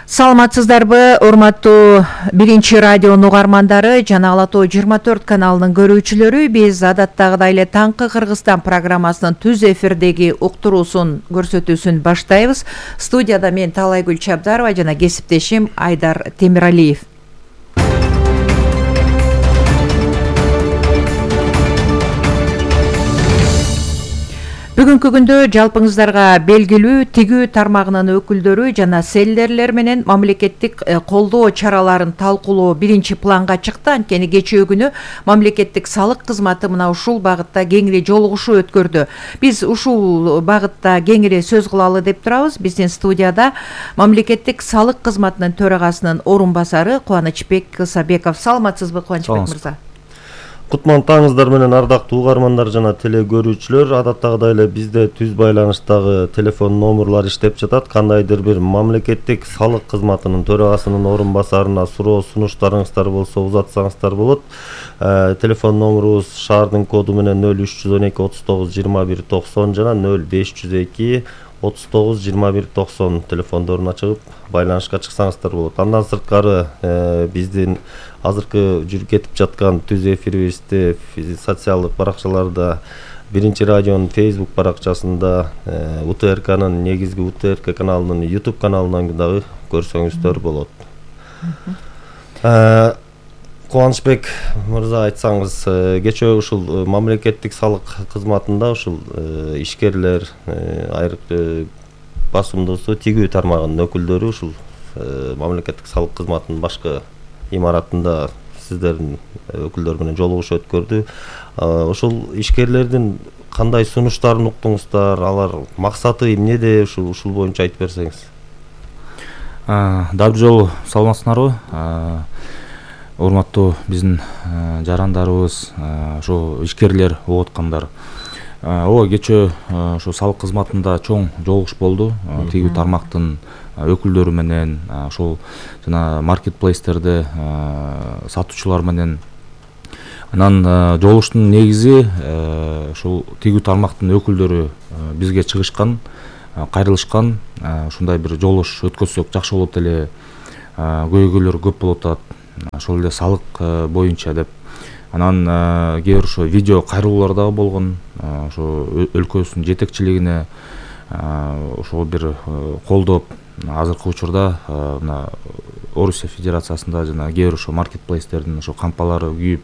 Саламатсыздарбы, урматтуу биринчи радионун угармандары жана Ала Тоо 24 каналынын көрүүчүлөрү. Биз адаттагыдай эле Таңкы Кыргызстан программасынын түз эфирдеги уктуруусун көрсөтүүсүн баштайбыз. Студияда мен Талайгүл Чабдарова жана кесиптешим Айдар Темиралиев. Бүгүнкү күндө жалпыңыздарга белгилүү тигүү тармагынын өкүлдөрү жана селдерлер менен мамлекеттик колдоо чараларын талкуулоо биринчи планга чыкты. Анткени кечээ күнү мамлекеттик салык кызматы мына ушул багытта кеңири жолугушуу өткөрдү. Биз ушул багытта кеңири сөз кылалы деп турабыз. Биздин студияда мамлекеттик салык кызматынын төрагасынын орун басары Кубанычбек Ысабеков. Саламатсызбы, Кубанычбек мырза? Кутман таңыздар менен ардактуу угармандар жана теле көрүүчүлөр. Адаттагыдай эле бизде түз байланыштагы телефон номерлар иштеп жатат. Кандайдыр бир мамлекеттик салык кызматынын төрагасынын орун басарына суроо сунуштарыңыздар болсо узатсаңыздар болот. Телефон номерубуз шаардын коду менен 0312 39 21 90 жана 0502 39 21 90 телефондорун ачып байланышка чыксаңыздар болот. Андан сырткары биздин азыркы жүрүп кетип жаткан түз эфирибизди социалдык баракчаларда, биринчи радионун Facebook баракчасында, УТРКнын негизги УТРК каналынын YouTube каналынан дагы көрсөңүздөр болот. Кубанычбек мырза, айтсаңыз, кечээ ушул мамлекеттик салык кызматында ушул ишкерлер, айрыкчы басымдуусу тигүү тармагынын өкүлдөрү ушул мамлекеттик салык кызматынын башкы имаратында сиздердин өкүлдөр менен жолугушуу өткөрдү. Ушул ишкерлердин кандай сунуштарын уктуңуздар, алар максаты эмнеде, ушул боюнча айтып берсеңиз. Дабы жолу саламатсыңарбы? Урматтуу биздин жарандарыбыз, ошо ишкерлер угуп аткандар. Ооба, кечээ ошо салык кызматында чоң жолугуш болду. Тигүү тармактын өкүлдөрү менен, ошол жана маркетплейстерде сатуучулар менен. Анан жолугуштун негизи ушул тигүү тармактын өкүлдөрү бизге чыгышкан, кайрылышкан, ушундай бир жолугуш өткөзсөк жакшы болот эле, көйгөйлөр көп болуп атат, ошол эле салык боюнча деп. Анан кээ бир ошо видео кайрылуулар дагы болгон, ошо өлкөбүздүн жетекчилигине ошол бир колдоп, азыркы учурда мына Орусия Федерациясында жана кээ бир ошо маркетплейстердин ошо кампалары күйүп,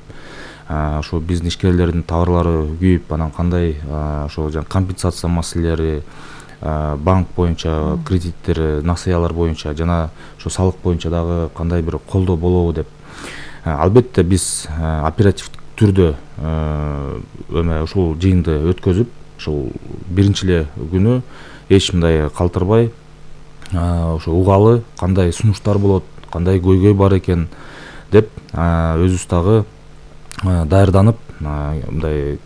ошо биздин ишкерлердин товарлары күйүп, анан кандай ошо компенсация маселелери, банк боюнча кредиттер, насыялар боюнча жана ошо салык боюнча дагы кандай бир колдоо болобу деп. Албетте биз оперативдик түрдө ушул жыйынды өткөзүп, ушул биринчи эле күнү эч мындай калтырбай, ошо угалы кандай сунуштар болот, кандай көйгөй бар экен деп өзүбүз дагы даярданып, мындай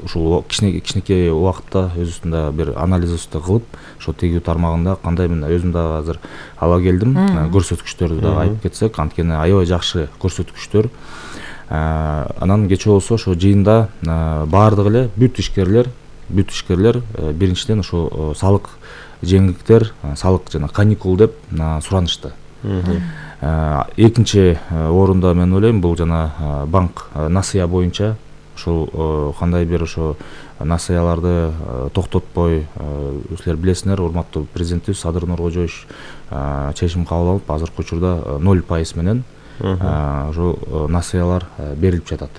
ушул кичинекей убакытта өзүбүздүн да бир анализибизди кылып, ошо тигүү тармагында кандай өзүм дагы азыр ала келдим, көрсөткүчтөрдү дагы айтып кетсек, анткени аябай жакшы көрсөткүчтөр. Анан кечээ болсо ошо жыйында баардык эле бүт ишкерлер биринчиден ошо салык жеңилдиктер, салык жана каникул деп суранышты. Экинчи орунда мен ойлойм, бул жана банк насыя боюнча, ошол кандай бир ошо насыяларды токтотпой, силер билесиңер, урматтуу президентибиз Садыр Нуркожоевич чечим кабыл алып, азыркы учурда 0% менен ошо насыялар берилип жатат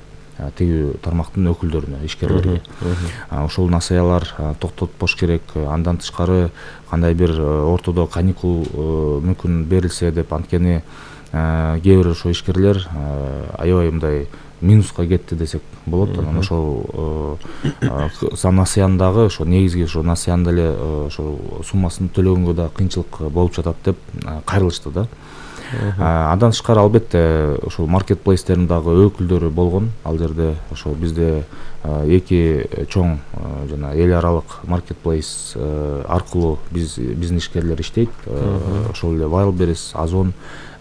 тигүү тармактын өкүлдөрүнө, ишкерлерге. Ошол насыялар токтотпош керек. Андан тышкары кандай бир ортодо каникул мүмкүн берилсе деп, анткени кээ бир ошо ишкерлер аябай мындай минуска кетти десек болот. Анан ошол насыяны дагы, ошо негизги ошо насыяны эле ошо суммасын төлөгөнгө да кыйынчылык болуп жатат деп кайрылышты да. Андан тышкары албетте ошол маркетплейстердин дагы өкүлдөрү болгон. Ал жерде ошо бизде эки чоң жана эл аралык маркетплейс аркылуу биздин ишкерлер иштейт. Ошол эле Wildberries, Озон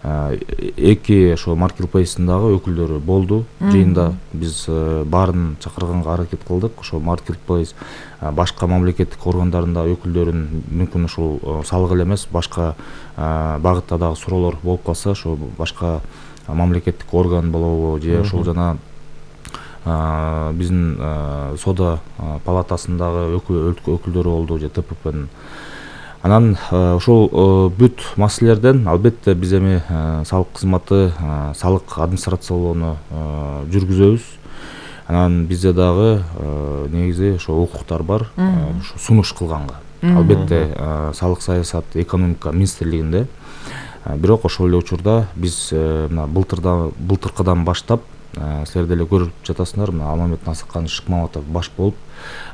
эки ошо маркетплейстин дагы өкүлдөрү болду. Жыйында биз баарын чакырганга аракет кылдык. Ошо маркетплейс башка мамлекеттик органдарында өкүлдөрүн мүмкүн ушул салык эле эмес башка багытта дагы суроолор болуп калса ошо башка мамлекеттик орган болобу же ошол жана биздин соода палатасындагы өкүлдөрү болду же ТППнын. Анан ошол бүт маселелерден албетте биз эми салык кызматы салык администрациялоону жүргүзөбүз. Анан бизде дагы негизи ошо укуктар бар сунуш кылганга. Албетте салык саясат экономика министрлигинде. Бирок ошол эле учурда биз мына былтыркыдан баштап силер деле көрүп жатасыңар, мына Алмамет Насыкканович Шыкмаматов баш болуп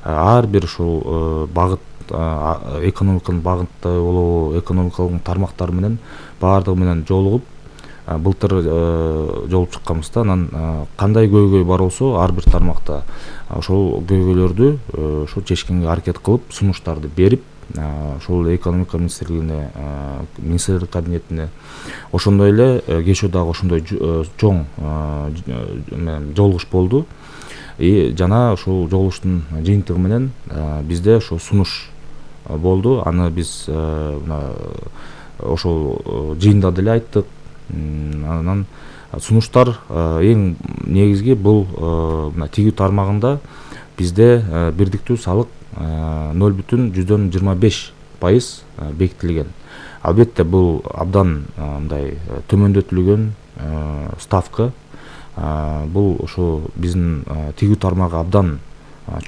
ар бир ушул багыт экономиканын багыты болобу, экономикалык тармактар менен баардыгы менен жолугуп былтыр жолуп чыкканбыз да. Анан кандай көйгөй бар болсо ар бир тармакта ошол көйгөйлөрдү ошо чечкенге аракет кылып сунуштарды берип ошол экономика министрлигине министрлик кабинетине ошондой эле кечээ дагы ошондой чоң жолугуш болду. Жана ошол жолугуштун жыйынтыгы менен бизде ошо сунуш болду. Аны биз ошол жыйында деле айттык. Анан сунуштар эң негизги бул тигүү тармагында бизде бирдиктүү салык 0,25% бекитилген. Албетте бул абдан мындай төмөндөтүлгөн ставка. Бул ошо биздин тигүү тармагы абдан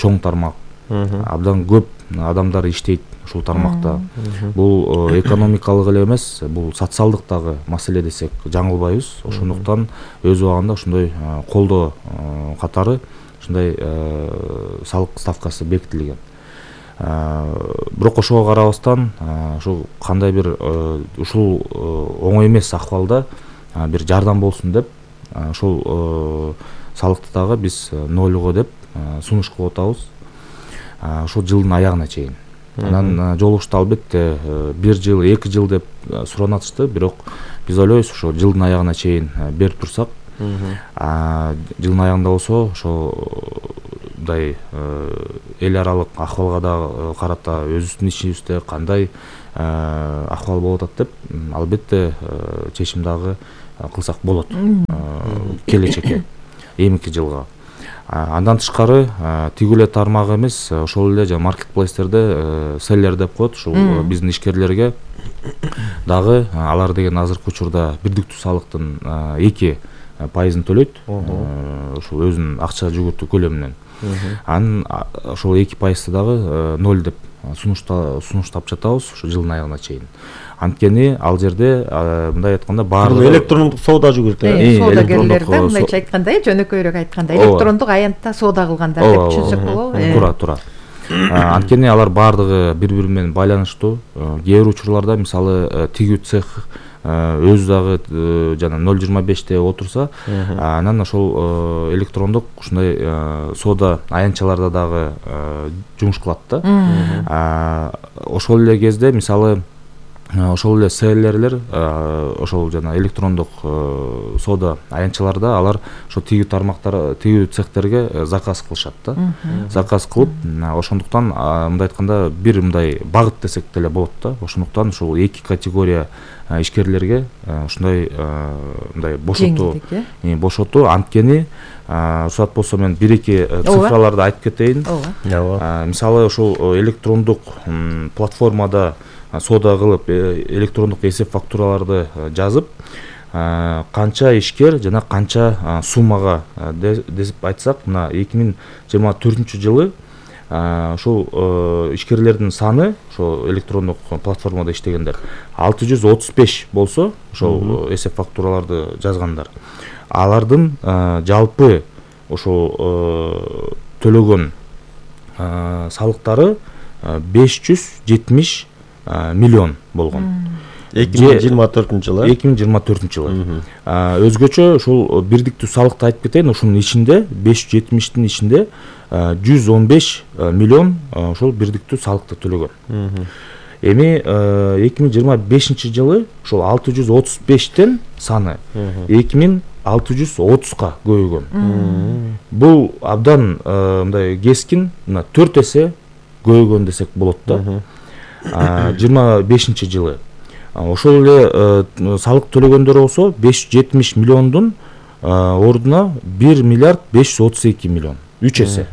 чоң тармак, абдан көп адамдар иштейт ушул тармакта. Бул экономикалык эле эмес, бул социалдык дагы маселе десек жаңылбайбыз. Ошондуктан өз убагында ошондой колдоо катары ушундай салык ставкасы бекитилген. Бирок ошого карабастан ошол кандай бир ушул оңой эмес акыбалда бир жардам болсун деп ошол салыкты дагы биз нолго деп сунуш кылып атабыз ошол жылдын аягына чейин. Анан жолугушта албетте 1 жыл, 2 жыл деп суранатышты, бирок биз ойлойбуз ошо жылдын аягына чейин берип турсак, жылдын аягында болсо ошо мындай эл аралык акыбалга да карата өзүбүздүн ишибизде кандай акыбал болуп атат деп албетте чечим дагы кылсак болот келечекке, эмки жылга. Андан тышкары тигүү эле тармагы эмес, ошол эле жана маркетплейстерде селлер деп коет, ушул биздин ишкерлерге дагы алар деген азыркы учурда бирдиктүү салыктын 2% төлөйт, ошол өзүнүн акча жүгүртүү көлөмүнөн. Анын ошол 2% дагы 0 деп сунуштап жатабыз ошо жылдын аягына чейин. Анткени ал жерде мындай айтканда баардыгы электрондук соода жүгүртөт. Соодагерлерде мындайча айтканда, жөнөкөйрөөк айтканда электрондук аянтта соода кылгандар деп түшүнсөк болобу? Туура. Анткени алар баардыгы бири-бири менен байланыштуу. Кээ бир учурларда мисалы тигүү цех өзү дагы жана 0,25 отурса, анан ошол электрондук ушундай соода аянтчаларда дагы жумуш кылат да. Ошол эле кезде мисалы ошол эле селлерлер ошол жана электрондук соода аянтчаларда алар ошо тигүү тармактар, тигүү цехтерге заказ кылышат да. Заказ кылып, ошондуктан мындай айтканда бир мындай багыт десек деле болот да. Ошондуктан ушул 2 категория ишкерлерге ушундай мындай бошотуу. Анткени уруксат болсо мен 1-2 цифраларды айтып кетейин. Мисалы ошол электрондук платформада соода кылып, электрондук эсеп фактураларды жазып, канча ишкер жана канча суммага деп айтсак, мына 2024-жылы ошол ишкерлердин саны, ошол электрондук платформада иштегендер 635 болсо, ошол эсеп фактураларды жазгандар. Алардын жалпы ошол төлөгөн салыктары 570 миллион болгон. 2024-жылы. 2024-жылы. Өзгөчө ушул бирдиктүү салыкты айтып кетейин, ошонун ичинде 570-тин ичинде 115 миллион ошол бирдиктүү салыкты төлөгөн. Эми 2025-жылы ошол 635тен саны 2630га көбөйгөн. Бул абдан мындай кескин, 4 эсе көйгөн десек болот да. 25-жылы ошол эле салык төлөгөндөр болсо 570 миллиондун ордуна 1 миллиард 532 миллион, 3 эсе.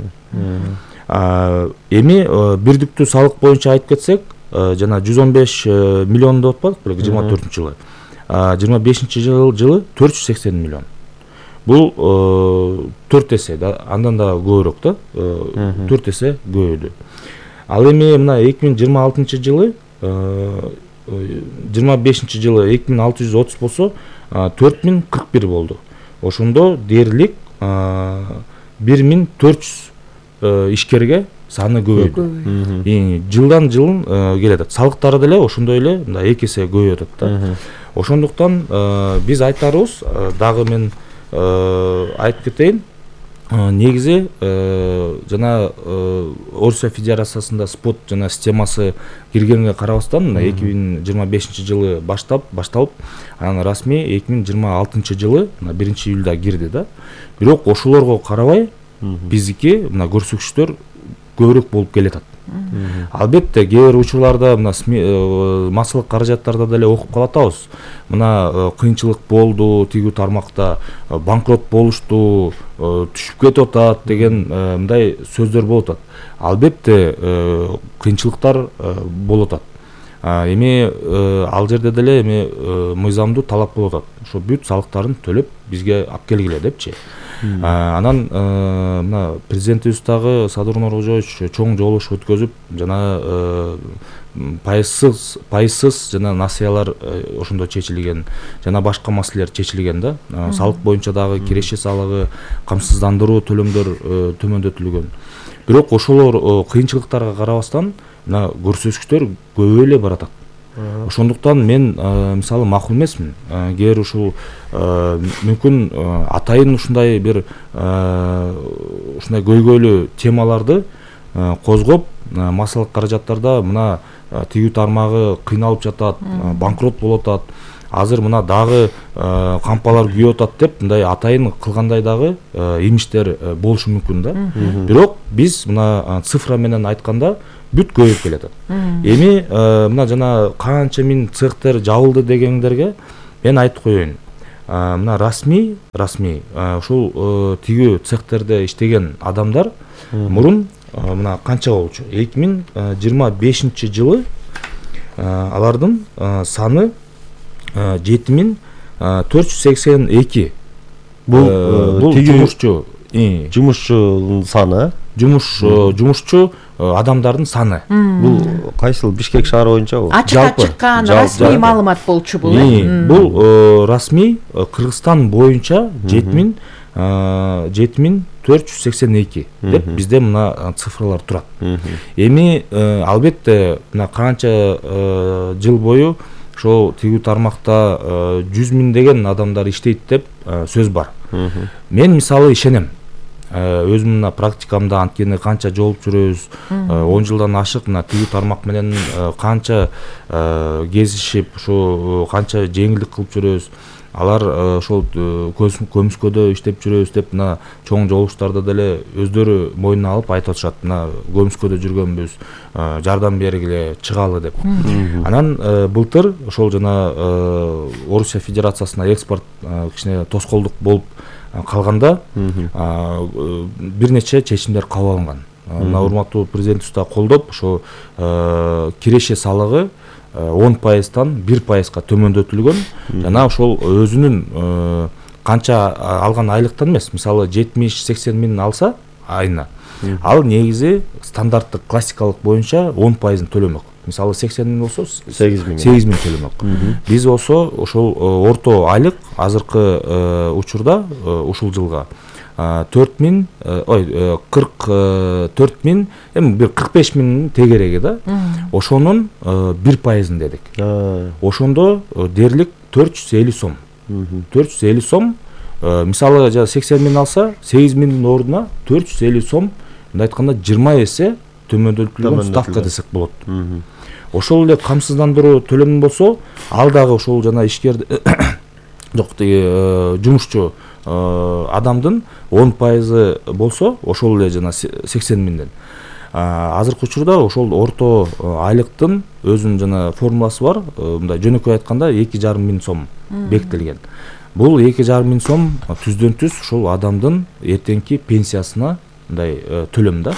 Эми бирдиктүү салык боюнча айтып кетсек, жана 115 миллион деп атпадык беле 24-жылы. 25-жылы 480 миллион. Бул 4 эсе да, андан да көбүрөөк да, 4 эсе көбөйдү. Ал эми мына 2026-жылы 25-жылы 2630 болсо 4041 болду. Ошондо дээрлик 1400 ишкерге саны көбөйдү. Жылдан жылын келет. Салыктары деле ошондой эле 2 эсе көбөйүп атат да. Ошондуктан биз айтарыбыз, дагы мен айтып кетейин, негизи жана Орусия Федерациясында спот жана системасы киргенге карабастан 2025-жылы башталып, анан расмий 2026-жылы 1-июлда кирди да. Бирок ошолорго карабай биздики мына көрсөтүштөр көбүрөөк болуп келатат. Албетте кээ бир учурларда мына массалык каражаттарда деле окуп калатабыз. Мына кыйынчылык болду, тигүү тармакта банкрот болушту, түшүп кетип атат деген мындай сөздөр болуп атат. Албетте кыйынчылыктар болуп атат. Эми ал жерде деле эми мыйзамдуу талап болуп атат. Ошо бүт салыктарын төлөп бизге алып келгиле депчи. Анан мына президентибиз дагы Садыр Нуркожоевич чоң жолугуш өткөзүп, жана пайызсыз жана насыялар ошондо чечилген, жана башка маселелер чечилген да. Салык боюнча дагы киреше салыгы, камсыздандыруу төлөмдөр төмөндөтүлгөн. Бирок ошолор кыйынчылыктарга карабастан мына көрсөтүштөр көбөй эле баратат. Ошондуктан мен мисалы макул эмесмин. Кээ ушул мүмкүн атайын ушундай бир ушундай көйгөйлүү темаларды козгоп, массалык каражаттарда мына тигүү тармагы кыйналып жатат, банкрот болуп атат. Азыр мына дагы кампалар күйүп атат деп мындай атайын кылгандай дагы имиштер болушу мүмкүн да. Бирок биз мына цифра менен айтканда бүт көбөйүп келатат. Эми мына жана канча миң цехтер жабылды дегендерге мен айтып коеюн. Мына расмий ушул тигүү цехтерде иштеген адамдар мурун мына канча болчу? 2025-жылы алардын саны 7482. Бул жумушчунун саны, жумушчу адамдардын саны. Бул кайсыл Бишкек шаары боюнчабы? Ачыкка чыккан расмий маалымат болчу бул. Бул расмий Кыргызстан боюнча 7482 деп бизде мына цифралар турат. Эми албетте мына канча жыл бою ошол тигүү тармакта 100 миңдеген адамдар иштейт деп сөз бар. Мен мисалы ишенем. Өзүм мына практикамда анткени канча жолуп жүрөбүз, 10 жылдан ашык мына тигүү тармак менен канча кезишип, ошо канча жеңилдик кылып жүрөбүз. Алар ошол көмүскөдө иштеп жүрөбүз деп мына чоң жолугуштарда деле өздөрү мойнуна алып айтып атышат. Мына көмүскөдө жүргөнбүз, жардам бергиле, чыгалы деп. Анан былтыр ошол жана Орусия Федерациясына экспорт кичине тоскоолдук болуп калганда бир нече чечимдер кабыл алынган. Мына урматтуу президентибиз да колдоп, ошо киреше салыгы 10%-тан 1%-га төмөндөтүлгөн. Жана ошол өзүнүн канча алган айлыктан эмес, мисалы 70-80 миң алса айына, ал негизи стандарттык классикалык боюнча 10%-ын төлөмөк. Мисалы 80 миң болсо 8 миң төлөмөк. Биз болсо ошол орто айлык азыркы учурда ушул жылга 44 миң, эми бир 45 миңдин тегереги да. Ошонун 1%-ын дедик. Ошондо дээрлик 450 сом. 450 сом, мисалы 80 миң алса, 8 миңдин ордуна 450 сом, мындай айтканда 20 эсе төмөндөтүлгөн ставка десек болот. Ошол эле камсыздандыруу төлөмү болсо, ал дагы ошол жана ишкер жок жумушчу адамдын 10% болсо, ошол эле жана 80 миңден. азыркы учурда ошол орто айлыктын өзүнүн жана формуласы бар. Мындай жөнөкөй айтканда 2,5 миң сом бекитилген. Бул 2,5 миң сом түздөн түз ошол адамдын эртеңки пенсиясына мындай төлөм да.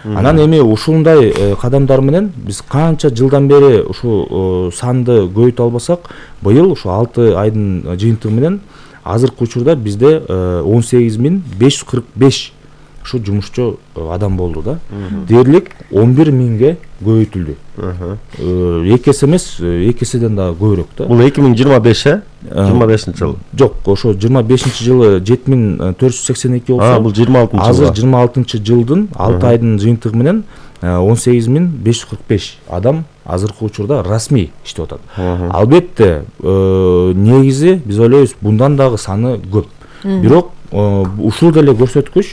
Анан эми ушундай кадамдар менен биз канча жылдан бери ушу санды көбөйтө албасак, быйыл ушу 6 айдын жыйынтыгы менен азыркы учурда бизде 18.545 ушу жумушчу адам болду да. Дээрлик 11 миңге көбөйтүлдү. 2 эсе эмес, 2 эседен да көбүрөөк да. Бул 2025 25-жылы. Жок, ошо 25-жылы 7482 болсо, бул 26-жылы. Азыр 26-жылдын 6 айдын жыйынтыгы менен 18.545 адам азыркы учурда расмий иштеп атат. Албетте, негизи биз ойлойбуз bundan дагы саны көп. Бирок ушул деле көрсөткүч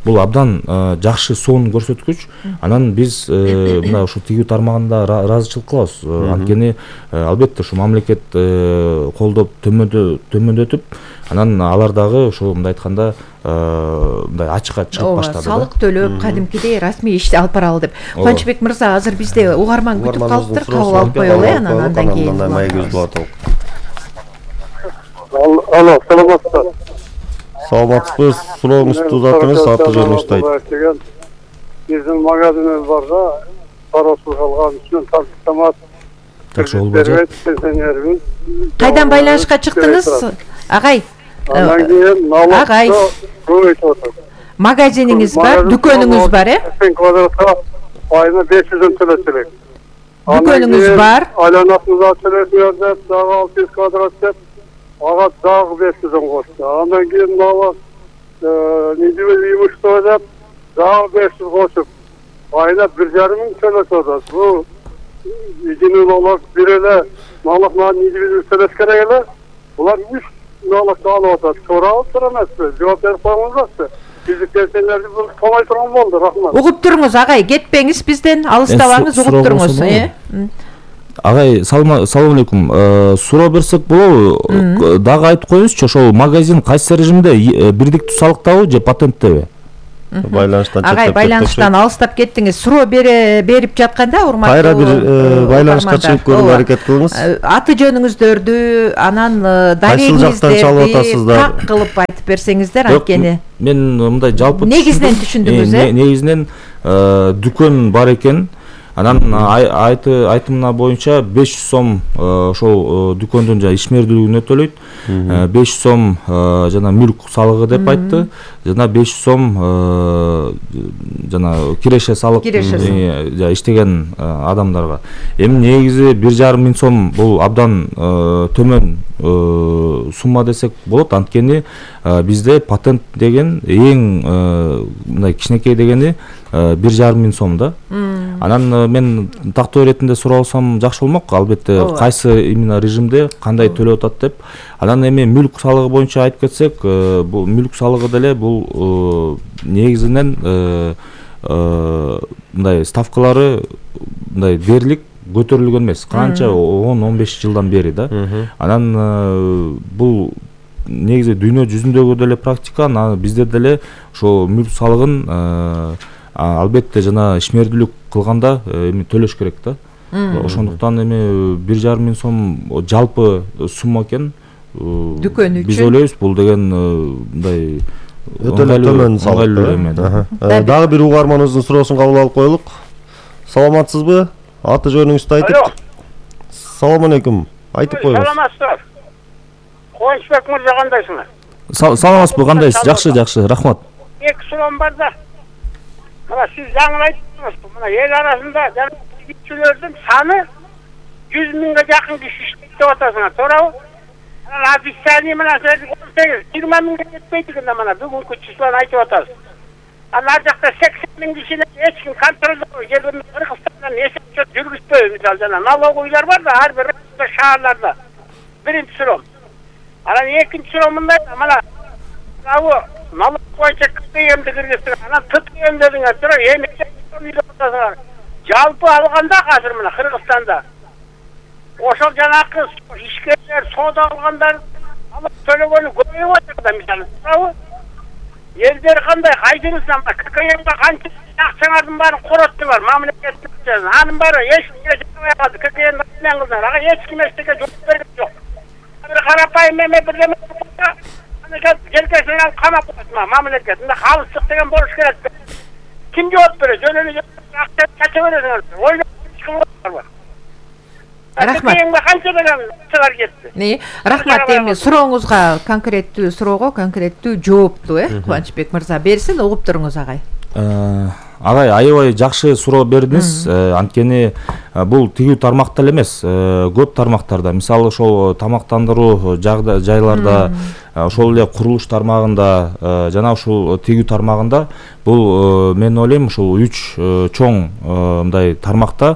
бул абдан жакшы сонун көрсөткүч. Анан биз мына ушу тигүү тармагында ыраазычылык кылабыз. Анткени албетте ушу мамлекет колдоп төмөндөтүп, анан алар дагы ошо мындай айтканда мындай ачыкка чыгып баштады. Салык төлөп, кадимкидей расмий ишти алып баралы деп. Кубанычбек мырза, азыр бизде угарман күтүп калыптыр, кабыл алып коелу, андан кийин. Алло, саламатсыздар. Саламатсызбыз, сурооңузду узатыңыз, аты жөнүңүздү айтыңыз. Биздин магазинибиз бар да, паросуз алган үчүн тартамат. Жакшы болбойт. Кайдан байланышка чыктыңыз, агай? Андан кийин налог көбөйтүп атат. Магазиниңиз бар, дүкөнүңүз бар, Квадратка айына 500 төлөш керек. Дүкөнүңүз бар. Айланасында төлөшүңөр деп, дагы 600 квадрат деп, ага дагы 500 кошто. Андан кийин налог недели имущество деп, дагы 500 кошуп, айына 1,5 миң төлөшүп атат. Бул изини налог бир эле налог недели төлөш керек эле. Булар 3 налог алып атат. Сурап эмеспи? Жооп берип коюңуздарчы. Биздин пенсионерди бул томой турган болду, рахмат. Угуп туруңуз, агай, кетпеңиз бизден, алыстабаңыз, угуп туруңуз. Агай, салам алейкум. Суроо берсек болобу? Дагы айтып коюңузчу, ошол магазин кайсы режимде, бирдиктүү салыктабы же патенттеби? Байланыштан агай, байланыштан алыстап кеттиңиз. Суроо берип жатканда, урматтуу. Кайра бир байланышка чыгып көрүүгө аракет кылыңыз. Аты жөнүңүздөрдү, анан далилиңиздерди так кылып айтып берсеңиздер, анткени. Мен мындай жалпы негизинен түшүндүңүз, негизинен дүкөн бар экен. Анан айтымына боюнча 500 сом ошол дүкөндүн жана ишмердүүлүгүнө төлөйт. 500 сом жана мүлк салыгы деп айтты. Жана 500 сом жана киреше салык иштеген адамдарга. Эми негизи 1,5 миң сом бул абдан төмөн сумма десек болот. Анткени бизде патент деген эң мындай кичинекей дегени 1,5 миң сом да. Анан мен тактоо иретинде сурап алсам жакшы болмок. Албетте кайсы именно режимде кандай төлөп атат деп. Анан эми мүлк салыгы боюнча айтып кетсек, бул мүлк салыгы деле бул негизинен мындай ставкалары мындай дээрлик көтөрүлгөн эмес. Канча 10-15 жылдан бери да. Анан бул негизи дүйнө жүзүндөгү деле практика, бизде деле ошо мүлк салыгын албетте жана ишмердүүлүк кылганда эми төлөш керек да. Ошондуктан эми 1,5 миң сом жалпы сумма экен. Дүкөн үчүн. Биз ойлойбуз бул деген мындай өтө эле төмөн салык. Дагы бир угарманыбыздын суроосун кабыл алып коелук. Саламатсызбы? Аты жөнүңүздү айтып. Салам алейкум. Айтып коюңуз. Саламатсыздар. Кубанычбек мырза, кандайсыңар? Саламатсызбы, кандайсыз? Жакшы, рахмат. Эки суроом бар да. Мына сиз жаңы айттыңыз, мына эл арасында тигүүчүлөрдүн саны 100 миңге жакын киши иштейт деп атасыңар, туурабы? Официальный менен 20 миңге жетпейт экен да, мына бүгүнкү числону айтып атасыз. Ар жакта 80 миң кишини эч ким контролдой, Кыргызстандан эсеп жүргүзбөй, мисалы жана налоговыйлар бар да, ар бир шаарларда. Биринчи суроом. Анан экинчи суроом мындай, мына налог боюнча КПМди киргиздиңер, анан ТТМ дедиңер, туурабы? Жалпы алганда азыр мына Кыргызстанда ошол жанакы ишкерлер, соода алгандар налог төлөгөнү көбөйүп атат да, мисалы, туурабы? Элдер кандай, кайсынысынан КПМга канча акчаңардын баарын короттуңар, мамлекеттик. Анын баары эч кимге жетпей калды. ККН менен кыздар, ага эч ким эчтеке жооп берген жок. Бир карапайым эме бирдеме желкесинен алып камап коюшма, мамлекет. Мында калыстык деген болуш керек. Ким жооп берет? Жөн эле акча кача бересиңер. Ойлоп чыгып бар. Рахмат. Канча деген чыгар кетти. Рахмат. Эми сурооңузга конкреттүү суроого конкреттүү жоопту, Кубанычбек мырза берсин, угуп туруңуз агай. Агай, аябай жакшы суроо бердиңиз. Анткени бул тигүү тармакта эле эмес, көп тармактарда, мисалы ошол тамактандыруу жайларда, ошол эле курулуш тармагында жана ушул тигүү тармагында бул мен ойлойм ушул 3 чоң мындай тармакта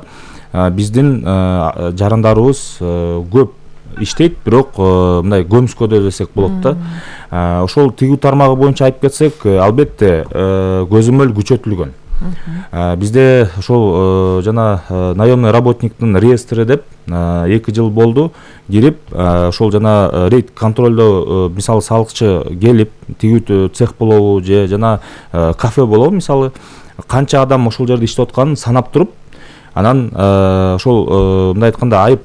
биздин жарандарыбыз көп иштейт, бирок мындай көмүскөдө десек болот да. Ошол тигүү тармагы боюнча айтып кетсек, албетте көзөмөл күчөтүлгөн. Бизде ошол жана наемный работниктин реестри деп 2 жыл болду кирип, ошол жана рейд контролдо мисалы салыкчы келип, тигүү цех болобу же жана кафе болобу, мисалы канча адам ошол жерде иштеп атканын санап туруп, анан ошол мындай айтканда айып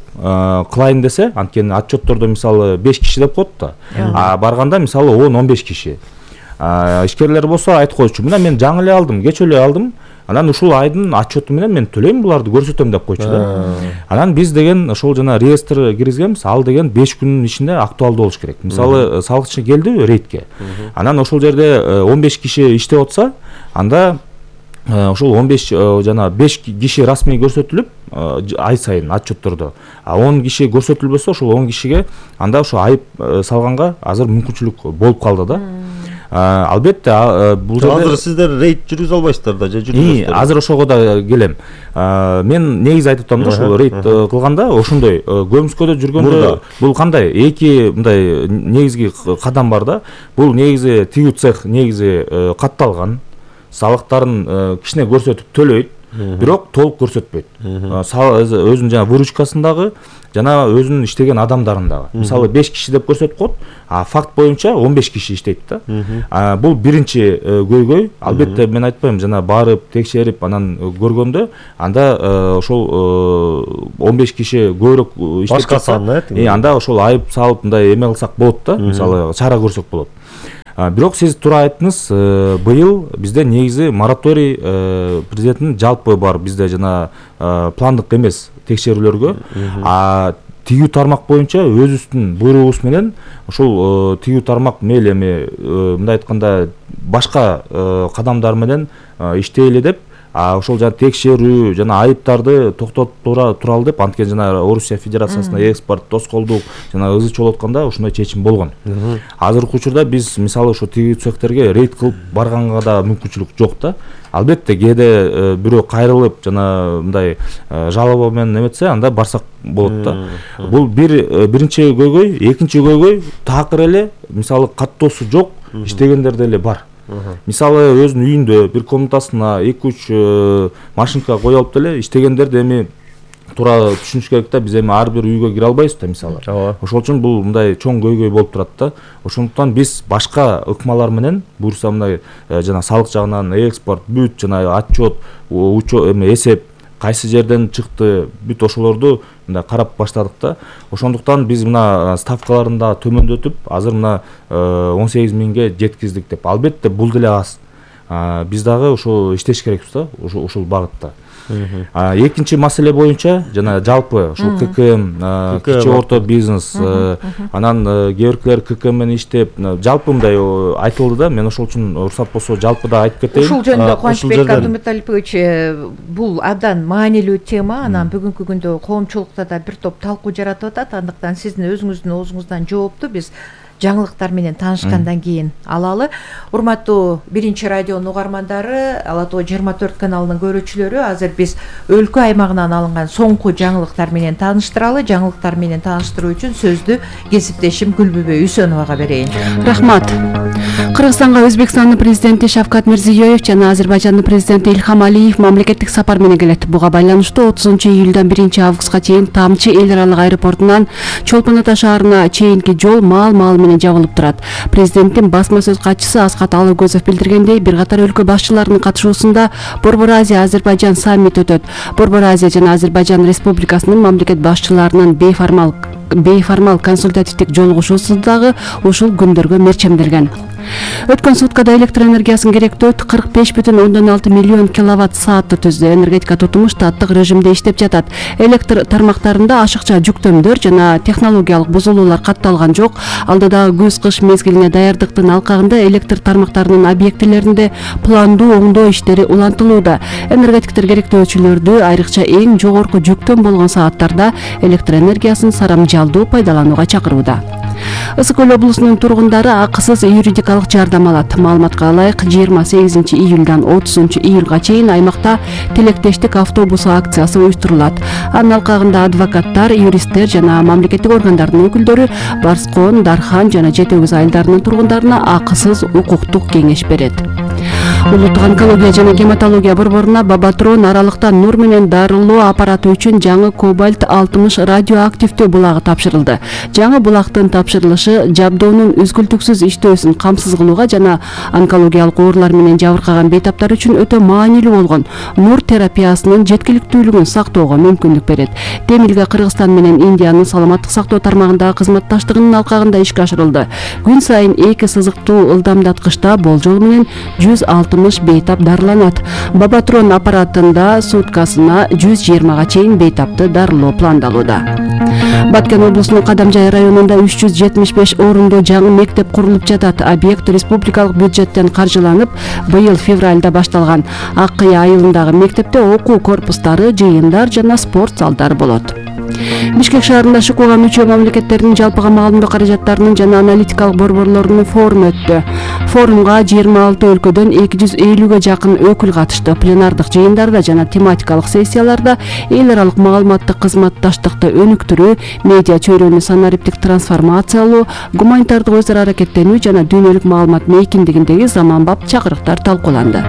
кылайын десе, анткени отчеттордо мисалы 5 киши деп коет да. Барганда мисалы 10-15 киши. Ишкерлер болсо айтып койчу, мына мен жаңы эле алдым, кеч эле алдым. Анан ушул айдын отчету менен мен төлөйм буларды, көрсөтөм деп койчу да. Анан биз деген ошол жана реестр киргизгенбиз, ал деген 5 күнүн ичинде актуалдуу болуш керек. Мисалы салыкчы келди рейдке. Анан ошол жерде 15 киши иштеп атса, анда ошол 15 жана 5 киши расмий көрсөтүлүп ай сайын отчеттордо, 10 киши көрсөтүлбөсө ошол 10 кишиге анда ошо айып салганга азыр мүмкүнчүлүк болуп калды да. Албетте бул жерде азыр сиздер рейд жүргүзө албайсыздар да, же жүргүзөсүздөр? Азыр ошого да келем. Мен негизи айтып атам да, ошол рейд кылганда ошондой көмүскөдө жүргөндө бул кандай эки мындай негизги кадам бар да. Бул негизи тигүү цех негизи катталган, салыктарын кичине көрсөтүп төлөйт, бирок толук көрсөтпөйт. Өзүнүн жана выручкасындагы жана өзүнүн иштеген адамдарындагы. Мисалы 5 киши деп көрсөтүп коет, факт боюнча 15 киши иштейт да. Бул биринчи көйгөй. Албетте мен айтпайм, жана барып текшерип анан көргөндө анда ошол 15 киши көбүрөөк иштеп жатса, анда ошол айып салып мындай эме кылсак болот да, мисалы чара көрсөк болот. Бирок сиз туура айттыңыз, быйыл бизде негизи мораторий президенттин жалпы бар, бизде жана пландык эмес текшерүүлөргө, тигүү тармак боюнча өзүбүздүн буйругубуз менен ошол тигүү тармак мейли эми мындай айтканда башка кадамдар менен иштейли деп, ошол жана текшерүү жана айыптарды токтотуп туралы деп, анткени жана Орусия Федерациясына экспорт, тоскоолдук жана ызы чолуп атканда ушундай чечим болгон. Азыркы учурда биз мисалы ошо тигүү цехтерге рейд кылып барганга да мүмкүнчүлүк жок да. Албетте кээде бирөө кайрылып жана мындай жалоба менен эметсе, анда барсак болот да. Бул биринчи көйгөй. Экинчи көйгөй такыр эле мисалы каттоосу жок иштегендер деле бар. Мисалы өзүнүн үйүндө бир комнатасына 2-3 машинка кое алып деле иштегендер эми туура түшүнүш керек да, биз эми ар бир үйгө кире албайбыз да мисалы. Ошол үчүн бул мындай чоң көйгөй болуп турат да. Ошондуктан биз башка ыкмалар менен буюрса мындай жана салык жагынан экспорт, бүт жана отчет, эме эсеп кайсы жерден чыкты, бүт ошолорду мындай карап баштадык да. Ошондуктан биз мына ставкаларын да төмөндөтүп, азыр мына 18 миңге жеткиздик деп. Албетте бул деле аз. Биз дагы ошо иштеш керекпиз да, ушул багытта. Экинчи маселе боюнча жана жалпы ошол ККМ, кичи орто бизнес, анан кээ-биркилер ККМ менен иштеп, жалпы мындай айтылды да, мен ошол үчүн уруксат болсо жалпы да айтып кетейин. Ушул жөнүндө Кубанычбек Абдуматалипович, бул абдан маанилүү тема, анан бүгүнкү күндө коомчулукта да бир топ талкуу жаратып атат, андыктан сиздин өзүңүздүн оозуңуздан жоопту биз жаңылыктар менен таанышкандан кийин алалы. Урматтуу биринчи радионун угармандары, Ала Тоо 24 каналынын көрүүчүлөрү, азыр биз өлкө аймагынан алынган соңку жаңылыктар менен тааныштыралы. Жаңылыктар менен тааныштыруу үчүн сөздү кесиптешим Гүлбүбө Үсөновага берейин. Рахмат. Кыргызстанга Өзбекстандын президенти Шавкат Мирзиёев жана Азербайжандын президенти Илхам Алиев мамлекеттик сапар менен келет. Буга байланыштуу 30-июлдан 1-августка чейин Тамчы эл аралык аэропортунан Чолпон Ата шаарына чейинки жол маал менен жабылып турат. Президенттин басма сөз катчысы Аскат Алыкөзов билдиргендей, бир катар өлкө башчыларынын катышуусунда Борбор Азия Азербайжан саммити өтөт. Борбор Азия жана Азербайжан Республикасынын мамлекет башчыларынын бейформал консультативдик жолугушуусу дагы ушул күндөргө мерчемделген. Өткөн суткада электр энергиясын керектөө 45,6 миллион киловатт саатты түздү. Энергетика тутуму штаттык режимде иштеп жатат. Электр тармактарында ашыкча жүктөмдөр жана технологиялык бузулуулар катталган жок. Алдыдагы күз-кыш мезгилине даярдыктын алкагында электр тармактарынын объектилеринде пландуу оңдоо иштери улантылууда. Энергетиктер керектөөчүлөрдү айрыкча эң жогорку жүктөм болгон сааттарда электр энергиясын сарамжалдуу пайдаланууга чакырууда. Ысык Көл облусунун тургундары акысыз юридикалык жардам алат. Маалыматка ылайык, 28-июлдан 30-июлга чейин аймакта тилектештик автобусу акциясы уюштурулат. Анын алкагында адвокаттар, юристтер жана мамлекеттик органдардын өкүлдөрү Барскон, Дархан жана Жетегиз айылдарынын тургундарына акысыз укуктук кеңеш берет. Улуттук онкология жана гематология борборуна Бабатрон аралыкта нур менен дарылоо аппараты үчүн жаңы кобальт 60 радиоактивдүү булагы тапшырылды. Жаңы булактын тапшырылышы жабдоонун үзгүлтүксүз иштөөсүн камсыз кылууга жана онкологиялык оорулар менен жабыркаган бейтаптар үчүн өтө маанилүү болгон нур терапиясынын жеткиликтүүлүгүн сактоого мүмкүндүк берет. Демилге Кыргызстан менен Индиянын саламаттык сактоо тармагындагы кызматташтыгынын алкагында ишке ашырылды. Күн сайын 2 сызыктуу ылдамдаткычта болжол менен 160 бейтап дарыланат. Бабатрон аппаратында суткасына 120га чейин бейтапты дарылоо пландалууда. Баткен облусунун Кадамжай районунда 375 орунду жаңы мектеп курулуп жатат. Объект республикалык бюджеттен каржыланып, быйыл февралда башталган. Ак Кыя айылындагы мектепте окуу корпустары, жыйындар жана спорт залдары болот. Бишкек шаарында ШКУга мүчө мамлекеттердин жалпыга маалымдоо каражаттарынын жана аналитикалык борборлорунун форуму өттү. Форумга 26 өлкөдөн 250ге жакын өкүл катышты. Пленардык жыйындарда жана тематикалык сессияларда эл аралык маалыматтык кызматташтыкты өнүктүрүү, медиа чөйрөнү санариптик трансформациялоо, гуманитардык өз ара аракеттенүү жана дүйнөлүк маалымат мейкиндигиндеги заманбап чакырыктар талкууланды.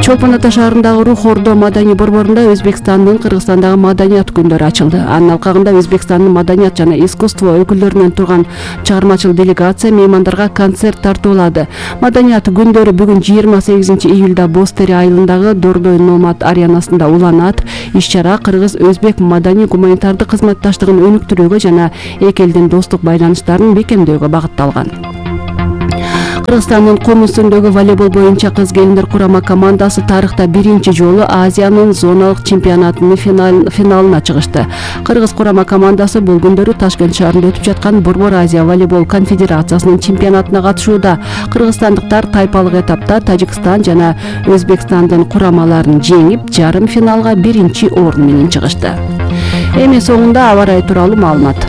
Чолпон Ата шаарындагы Рух Ордо маданий борборунда Өзбекстандын Кыргызстандагы маданият күндөрү ачылды. Анын алкагында Өзбекстандын маданият жана искусство өкүлдөрүнөн турган чыгармачыл делегация меймандарга концерт тартуулады. Маданият күндөрү бүгүн 28-июлда Бостери айылындагы Дордой Номад аренасында уланат. Иш-чара кыргыз-өзбек маданий гуманитардык кызматташтыгын өнүктүрүүгө жана эки элдин достук байланыштарын бекемдөөгө багытталган. Кыргызстандын кум үстүндөгү волейбол боюнча кыз келиндер курама командасы тарыхта биринчи жолу Азиянын зоналык чемпионатынын финалына чыгышты. Кыргыз курама командасы бул күндөрү Ташкент шаарында өтүп жаткан Борбор Азия волейбол конфедерациясынын чемпионатына катышууда. Кыргызстандыктар тайпалык этапта Тажикстан жана Өзбекстандын курамаларын жеңип, жарым финалга биринчи орун менен чыгышты. Эми соңунда аба ырайы тууралуу маалымат.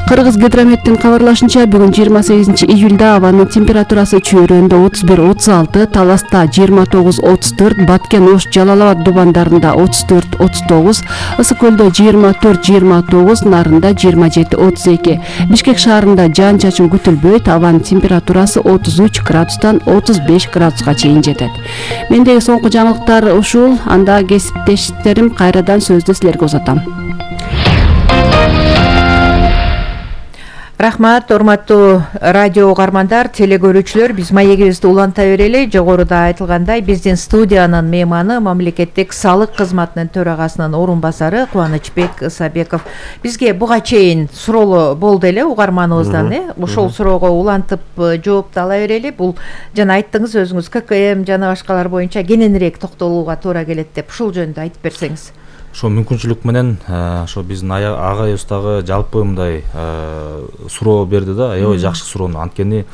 Кыргыз гидрометтин кабарлашынча, бүгүн 28-июлда абанын температурасы Чүйрөндө 31-36, Таласта 29-34, Баткен, Ош, Жалал-Абад дубандарында 34-39, Ысык Көлдө 24-29, Нарында 27-32. Бишкек шаарында жаан-чачын күтүлбөйт, абанын температурасы 33 градустан 35 градуска чейин жетет. Мендеги соңку жаңылыктар ушул, анда кесиптештерим кайрадан сөздү силерге узатам. Рахмат, урматтуу радио угармандар, телегөрүүчүлөр, биз маегибизди уланта берели. Жогоруда айтылгандай, биздин студиянын мейманы мамлекеттик салык кызматынын төрагасынын орун басары Кубанычбек Ысабеков. Бизге буга чейин суроолор болду эле угарманыбыздан, ошол суроого улантып жоопту ала берели. Бул жана айттыңыз өзүңүз ККМ жана башкалар боюнча кененирээк токтолууга туура келет деп, ушул жөнүндө айтып берсеңиз. Ошо мүмкүнчүлүк менен ошо биздин агайыбыздагы жалпы мындай суроо берди да, аябай жакшы суроону. Анткени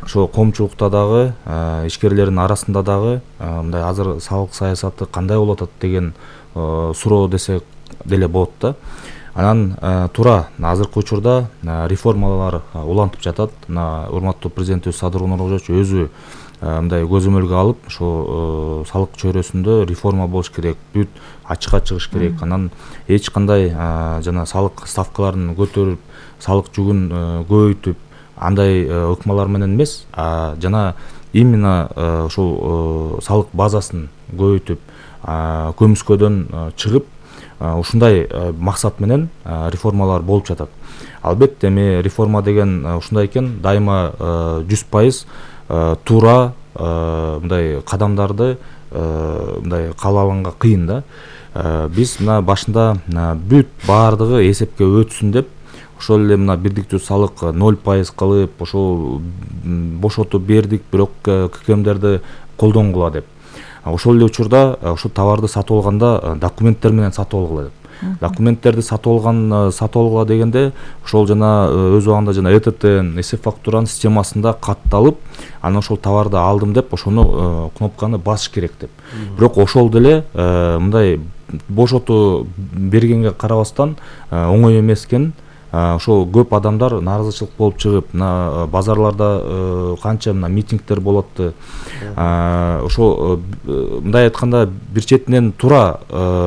ошо коомчулукта дагы, ишкерлердин арасында дагы мындай азыр салык саясаты кандай болуп атат деген суроо десек деле болот да. Анан туура азыркы учурда реформалар улантып жатат. Урматтуу президентибиз Садыр Нуркожоевич өзү мындай көзөмөлгө алып, ошо салык чөйрөсүндө реформа болуш керек, бүт ачыкка чыгыш керек. Анан эч кандай жана салык ставкаларын көтөрүп, салык жүгүн көбөйтүп, андай ыкмалар менен эмес, жана именно ушул салык базасын көбөйтүп, көмүскөдөн чыгып, ушундай максат менен реформалар болуп жатат. Албетте эми реформа деген ушундай экен, дайыма 100% туура мындай кадамдарды мындай кабыл алганга кыйын да. Биз мына башында бүт баардыгы эсепке өтсүн деп, ошол эле мына бирдиктүү салык 0% кылып, ошол бошотуп бердик, бирок ККМдерди колдонгула деп. Ошол эле учурда ошол товарды сатып алганда документтер менен сатып алгыла деп. Документтерди сатып алгыла дегенде, ошол жана өз убагында жана ЭТТ эсеп фактуранын системасында катталып, анан ошол товарды алдым деп, ошону кнопканы басыш керек деп. Бирок ошол деле мындай бошотуу бергенге карабастан оңой эмес экен. Ошол көп адамдар нааразычылык болуп чыгып, базарларда канча митингдер болот. Ошол мындай айтканда бир четинен туура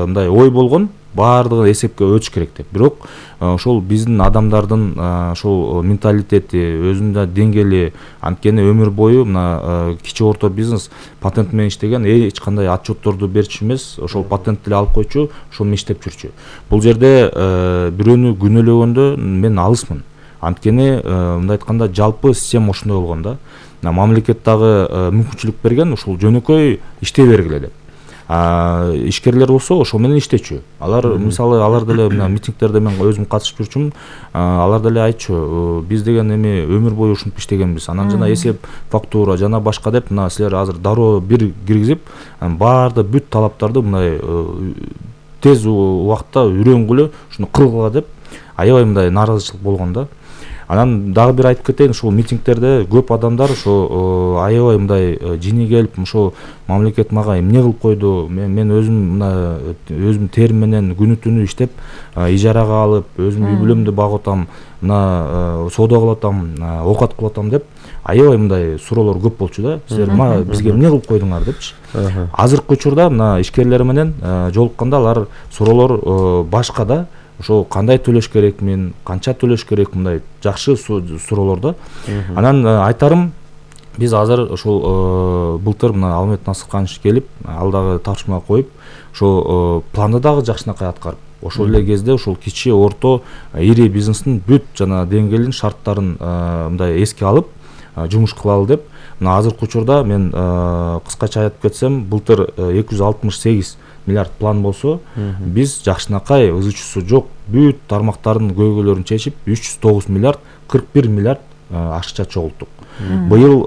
мындай ой болгон, баардыгы эсепке өтүш керек деп. Бирок ошол биздин адамдардын ошол менталитети, өзүнүн деңгээли, анткени өмүр бою мына кичи орто бизнес патент менен иштеген, эч кандай отчетторду берчү эмес, ошол патент деле алып койчу, ошол менен иштеп жүрчү. Бул жерде бирөөнү күнөөлөгөндө мен алысмын. Анткени мындай айтканда жалпы система ошондой болгон да. Мамлекет дагы мүмкүнчүлүк берген, ушул жөнөкөй иштей бергиле деп. Ишкерлер болсо ошол менен иштечү. Алар мисалы алар деле митингдерде мен өзүм катышып жүрчүмүн. Алар деле айтчу, биз деген эми өмүр бою ушинтип иштегенбиз. Анан жана эсеп фактура жана башка деп, мына силер азыр дароо бир киргизип, баарды бүт талаптарды мындай тез убакытта үйрөнгүлө, ушуну кылгыла деп аябай мындай нааразычылык болгон да. Анан дагы бир айтып кетейин, ушул митингдерде көп адамдар ошо аябай мындай жини келип, ошо мамлекет мага эмне кылып койду, мен өзүм мына өзүм терим менен күнү түнү иштеп, ижарага алып, өзүм үй бүлөмдү багып атам, мына соода кылып атам, оокат кылып атам деп, аябай мындай суроолор көп болчу да. Силер бизге эмне кылып койдуңар депчи. Азыркы учурда мына ишкерлер менен жолукканда алар суроолор башка да. Ошо кандай төлөш керекмин, канча төлөш керек, мындай жакшы суроолор да. Анан айтарым, биз азыр ошол былтыр мына Алмет Насырканович келип, ал дагы тапшырма коюп, ошо планды дагы жакшынакай аткарып, ошол эле кезде ошол кичи, орто, ири бизнестин бүт жана деңгээлин, шарттарын мындай эске алып жумуш кылалы деп. Мына азыркы учурда мен кыскача айтып кетсем, былтыр 268 миллиард план болсо, биз жакшынакай ызы-чусу жок бүт тармактардын көйгөйлөрүн чечип 309 миллиард, 41 миллиард акча чогулттук. Быйыл